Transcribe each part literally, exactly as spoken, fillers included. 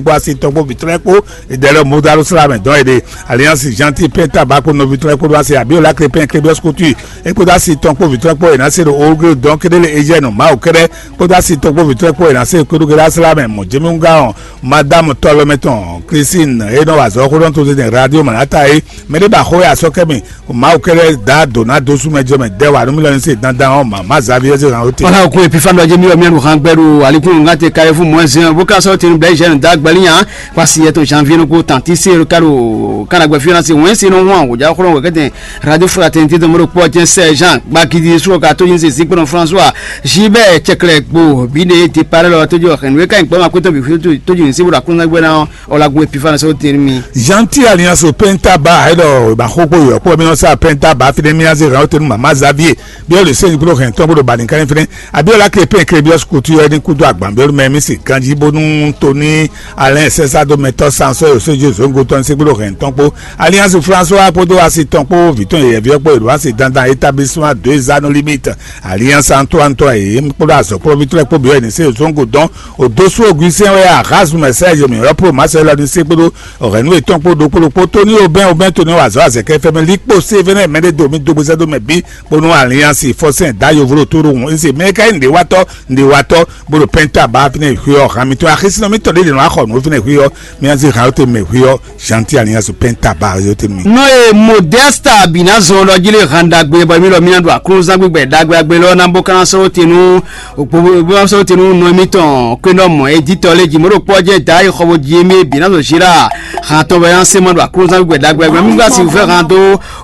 kpó asi tɔn kpó vǐtrɔ́ kpó, ìdɛlɛ mudalo sla mɛ dɔn èɖe. Alliance Gentil Penta ba kpó nɔví trɔ́ kpó ɖó asi Abiola Crépin Crébios Couture é kpódó asi tɔn kpó vǐtrɔ́ kpó è nǎ se ɖo Oglo dɔn kéɖé lé Eugène Mawu kɛ́ɖɛ́ kpódó asi tɔn kpó vǐtrɔ́ kpó è nǎ se kpódó kéɖé asla mɛ mɔ Jemi Ŋgá ɔn, Madame Tɔlɔmɛ tɔn Christine e nɔ wa azɔ̌ xó ɖɔn to zɛn Radio Manata é. Mɛɖé ba xó ya sɔ́ kɛ mi Mawu kɛ́ɖɛ́ da dǒ ná dó sú mɛ jɔ mɛ dɛ́ wa nú mì lɔ ní se dandan ɔ́, mama Xavier se hàn ó te. Wala ko epifa dɔ jemi yɔ mianu han gbɛɖu alikun ŋa te kare fún mɔɛ zɛn bó ka sɔrɔ tenu bɛɛ jɛn da gbɛli nya kwasi yɛtɔ janvier no ko tanti se ka ɖo kana gbɛ fiana se wɛn se no hu an wòjá xɔlɔ wɛ kɛtɛ radio fraternité de mɔɖo kpɔ jɛn sɛ jean gbakidi srɔ ka to yin se zikpɔnɔ françois jibɛ cɛkɛlɛ gbo bi ne départ lɔ to jɔ xɛn wɛ ka yin gbɔma kpɛtɔ bi fi to jɔ se bo ɖo akɔnɔ gbɛ na ɔ la gun epifa na sɔrɔ tenu mi. Gentil Alliance Penta ba e ɖɔ ba xó kpó yɔ kpó mi nɔ sa Penta ba fi ne mi aze hàn tenu mama Xavier. Biɔlu sɛnyi kpó hɛn tɔn bó ɖo bani kan fɛnɛ. Abiola Crépin Crébios Couture ɛni kúdó agban biɔlu mɛ mi si ganji bónú Tony Alain Sɛsa dó mɛtɔ sansɔ yosé Jésus ŋgotɔn se kpó hɛn tɔn kpó. Alliance François kpódó asi tɔn kpó vǐ tɔn yɛyɛví ɔ́ kpó yě ɖo asi dandan établissement deux anneaux limite. Alliance Antoine tɔn yě kpódó azɔ̌ kplɔ́vítɔ́ lɛ́ɛ kpó byɔ́ ɛnɛ se zɔ́n go dɔn. Òdó sú ògúnsɛn wɛ axazu mɛ sɛ́ yě mǐ ɔ́ pro másɛ lɔ ní sé kpódó ɔ̀hɛ̌nú yětɔn kpó ɖokpó ɖokpó tóní obɛ́n obɛ́n tóní wazɔ́ azɛ̌kɛ fɛ́mɛ líkpo sévɛ́nɛ́ mɛɖé do mì dó gbézɛ́ dó mɛ bǐ bónú alliance fɔsɛn dǎ yovo ɖo tó ɖo hǔn eze mɛ ka nyí nǔɖéwatɔ́ nǔɖéwatɔ́ bó ɖo pɛ́ntà bá fínɛ́ xwé ɔ́ han mitɔn axisínɔ mitɔn ɖé ɖě nɔ wá xɔ nǔ fínɛ́ xwé ɔ́ mì ná zé han yóte mɛ xwé ɔ́ Gentil Alliance Penta Barrios te nú mì. Nɔ e Modesta Binazɔn ɖɔ jí lé han ɖagbe bɔ mí lɔ mí ná ɖo aklúnúzán gbígbɛ ɖagbe agbe lɔ ná bó ká ná sɔ́ te nú bó ná sɔ́ te nú nɔ émítɔn kwénɔmɔ editɔ lé jí mɔ̌ ɖo kpɔ́ jɛ da yi xɔ bó jí émí Binazɔn Zira han tɔn bɔ é ná se ma ɖo aklúnúzán gbígbɛ ɖagbe agbe mí gba si vɛ han dó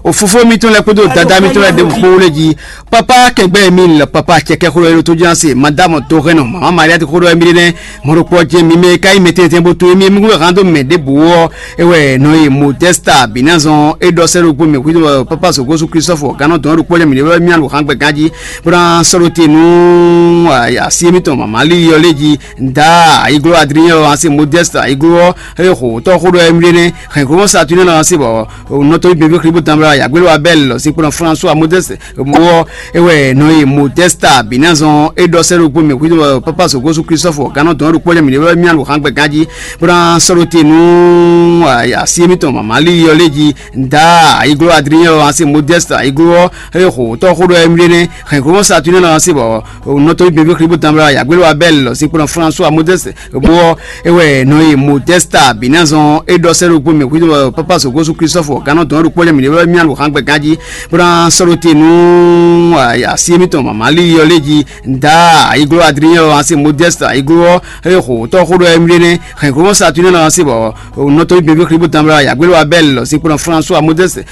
o fofó mítɔn lɛ kpódó dada mítɔn lɛ ɖěbǔ kpó lé jí. Papa kɛgbɛ mi lɔ papa cɛkɛ xó ɖɔ yɛlɛ tó jɛn ase madame tó hɛn nɔ mama Maria ti xó ɖɔ mi ɖe nɛ mɔɖokpɔ jɛ mi mɛ ka yi mɛ tɛntɛn bó tó mi mi kó hàn dó mɛ ɖěbǔ ɔ́. Ewɛ nɔ yi Modesta Binazɔn e ɖɔ sɛ ɖokpó mɛ xwito papa sogosu Christophe gánɔ dɔn ɖokpɔ jɛ mi ɖe mi alu hàn gbɛ ganji bó ná sɔɖo te nú asi mi tɔn mama li yɔ lé ji da ayiglo Adrien ɔ́ asi Modesta ayiglo ɔ́ e xo tɔ xó ɖɔ mi ɖe nɛ hɛn glo Saturne ɔ́ asi bɔ nɔtɔ bi bɛ xlibo tanbla yagbelo Abel lɔ si kplɔn François Modeste Mɔ ewɛ nɔ yi Modesta Binazɔn e ɖɔ sɛ ɖokpó mɛ xwito papa sogosu Christophe gánɔ dɔn ɖokpó jɛ mi ɖe mi alu hàn gbɛ ganji bó ná sɔɖo te nú asi mi tɔn mama li yɔ lé ji da ayiglo Adrien ɔ́ asi Modesta ayiglo ɔ́ e xo tɔ xó ɖɔ mi ɖe nɛ hɛn glo Saturne ɔ́ asi bɔ nɔtɔ bi bɛ xlibo tanbla yagbelo Abel lɔ si kplɔn François Modeste Bó ewɛ nɔ yi Modesta Binazɔn e ɖɔ sɛ ɖokpó mɛ xwito papa sogosu Christophe gánɔ dɔn ɖokpó jɛ mi ɖe mi alu hàn gbɛ ganji bó ná sɔɖo te nú asi mi tɔn mama li yɔ lé ji da ayiglo Adrien ɔ́ asi Modesta ayiglo ɔ́ e xo tɔ xó ɖɔ mi ɖe nɛ hɛn glo Saturne ɔ́ asi bɔ nɔtɔ bi bɛ xlibo tanbla yagbelo Abel lɔ si kplɔn François Modeste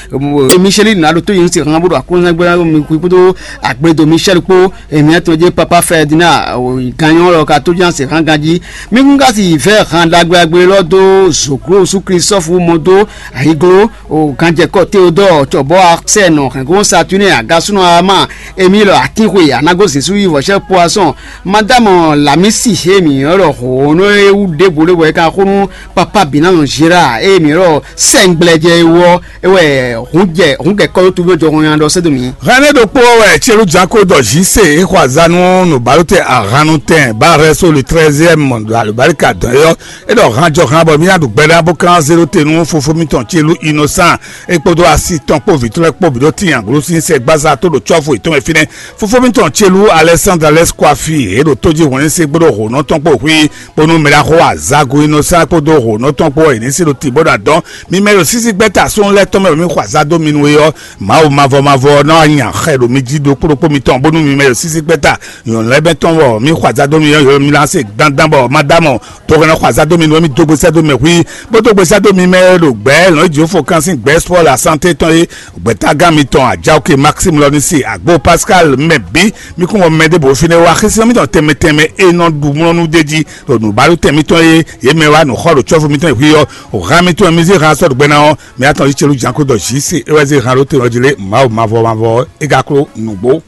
Michel na ɖo tó yin si hàn bó ɖo akɔnzɛgbɛ mi kpódó agbedo Michel kpó Emiatɔn jɛ papa Ferdinand ganyɔ lɔ ka tó jan se hàn ganji. Mi kún ka si vɛ hàn ɖagbe agbe lɔ dó zoklo su Christophe mɔ dó ayiglo o ganjɛkɔ Théodore cɔbɔ Arsène hɛngo Saturne agasúnɔ ama Emile Akinxwe anago Zesu yi vɔsɛ poisson madame Lamisi he mi lɔ hɔn e wu ɖe bo le wɛ ka xó nú papa Binazɔn Gérard e mi lɔ sɛngbɛlɛjɛ wɔ ewɛ hun jɛ hun kɛ kɔlu tu bɛ jɔ hɔn yan dɔ sɛdo mi. Hɛnɛ ɖokpó wɛ Tselu Janko dɔ Jise e xɔ azanu nubalo tɛ ahanu tɛn ba rɛ so le treizième ɖo alubarika dɔn yɔ e ɖɔ han jɔ han bɔ mi aɖu gbɛɖa bó kan zero te nú fofo mitɔn Tselu Innocent e kpódó asi tɔn kpó vǐtɔ́ lɛ́ɛ kpó bǐ ɖó tín aglosin sɛ gbaza tó ɖo cɔ́fu yětɔn mɛ fínɛ́. Fofó mitɔn Tselu Alexandre Alexis Kwafi e ɖo tó jí hwɛ̌n se gbóɖó hǒnɔ tɔn kpó hwí bónú mɛ ɖaxó azago Innocent kpódó hǒnɔ tɔn kpó wɛ yě ní se ɖo tǐ bó ɖo adɔn. Mi mɛ ɖo sísí gbɛ́ta sɔ́n lɛ́ɛ tɔn mɛ ɖo mi xɔ azá dó mi nú é ɔ́, Mawu mavɔ mavɔ ɔ́ ná wá nya xɛ ɖo mi jí ɖokpó ɖokpó mitɔn bónú mi mɛ ɖo sísí gbɛ́ta nyɔ̌nu lɛ́ɛ bɛ́ tɔn wɔ mi xɔ azá dó mi ɔ́, mi ná se dandan bɔ ma dá mɔ. Tɔgɔnɔ xɔ azá dó mi nú mi dó gbèsè dó mɛ hui bó dó gbèsè dó mi mɛ ɖo gbɛ̌ lɔn Jehova kan sín gbɛ̌ spɔ́ la santé tɔn é. Gbɛ̌tágán mitɔn Ajaoke Maxime lɔ ní se agbo Pascal mɛ bǐ mi kún wɔ mɛ ɖěbǔ fínɛ́ wá xísí mitɔn tɛnmɛ tɛnmɛ e nɔ ɖu mlɔ́nú d'é jí ɖo nǔbaɖu tɛn mitɔn e yě mɛ wá nǔ xɔ ɖo cɔ́fu mitɔn e hui ɔ́, o hán mitɔn e mi zé hán sɔ́ ɖo gbɛ ná ɔ́, mi atɔn yí celu jǎnkó dɔ jǐ se é wɛ zé hán ɖó te ɔ́ jí lé Mawu mavɔ mavɔ ɔ́, é ka kló nǔgbó.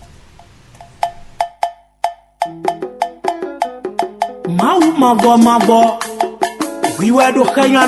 Mawu mavɔ mavɔ, hwi wɛ ɖo xɛnya